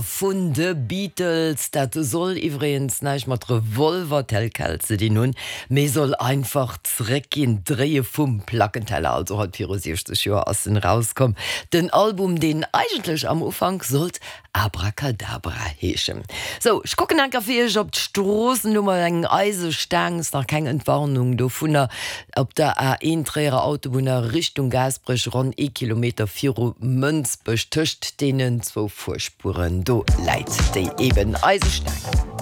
Vun de Beatles. Dat soll iwwregens näischt mat Revolver tel quel ze dinn hunn, mee soll einfach zeréckginn, d'Dréie vum Plackenteller. Also haut viru 60 Joer ass en erauskomm, den Album, deen eigentlech am Ufank sollt Abracadabra heeschen. Sou, ech kucken enker fir iech op d'Stroossen. Hu mer eng Eisestaang, ass nach keng Entwarnung dovunner. Op der A1 Tréierer Autobunn a Richtung Gaasperech, ronn ee Kilometer viru Mënsbech, tëscht deenen zwou Fuerspueren, do läit déi eben Eisestaang.